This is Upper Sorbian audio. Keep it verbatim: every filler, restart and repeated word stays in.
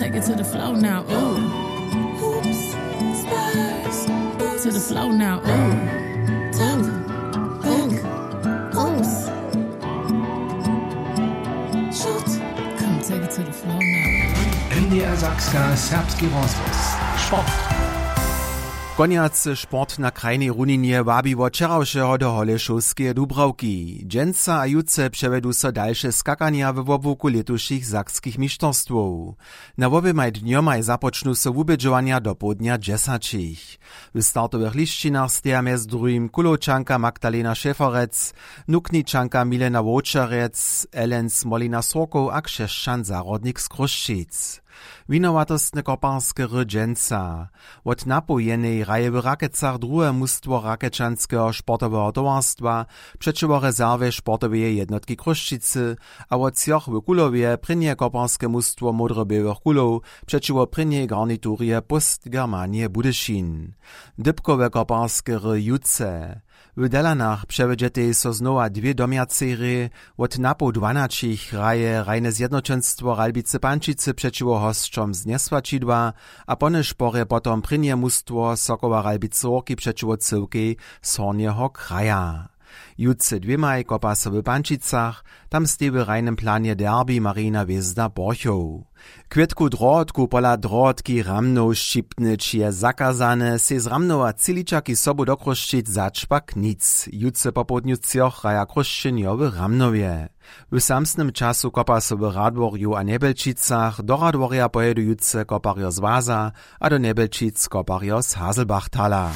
Take it to the flow now. Ooh. Hoops, spurs, to the flow now. Ooh. Dunk, dunk, goals. Shoot. Come take it to the flow now. N D R Sakska, serbski rozhłos. Sport. Konjacy sport na krajnej runinje wabi wot wčerawšeho do Holešowskeje Dubrawki. Dźensa a jutře přewjedu so dalše skakanja we wobłuku lětušich sakskich mišterstwow. Na woběmaj dnjomaj započnu so wubědźowanja do połdnja dźesaćich. W startowych lisćinach steja mjez druhim Kulowčanka Magdalena Šeferec, Nukničanka Milena Wowčerjec, Elens Molina Srokow a Křesćan Zahrodnik z Chrósćic. Winowatostne koparske hry dźensa. Wot napoł jenej hraje w Rakecach druhe mustwo Rakečanskeho sportoweho towarstwa přećiwo rezerwje sportoweje jednotki Chrósćicy a wot třoch w Kulowje prěnje koparske mustwo Módroběłych Kulow přećiwo prěnjej garniturje Postgermanije Budyšin. Dypkowe koparske hry jutře. W Delanach přewjedźetej so znowa dwě domjacej hrě. Wot napoł dwanaćich hraje hrajne zjednoćenstwo Ralbicy Pančicy přećiwo hosćom z Njesłaćidła a po nyšporje potom prěnje mustwo Sokoła Ralbicy Hórki přećiwo cyłkej z Hornjeho kraja. Jutře dwěmaj kopa so w Pančicach, tam steji w hrajnym planje derbi Marina Hwězda Borchow. Kwětku Drohotku pola Drohotki Ramnow šćipnyć je zakazane, sej z Ramnowa tři ličaki sobu do Chrósćic zač pak nic. Jutře popołdnju třoch hraja Chrósćenjo w Ramnowje. W samsnym času kopa so w Radworju a Njebjelčicach, do Radworja pojedu jutře koparjo z Waza a do Njebjelčic koparjo z Haselbachtala.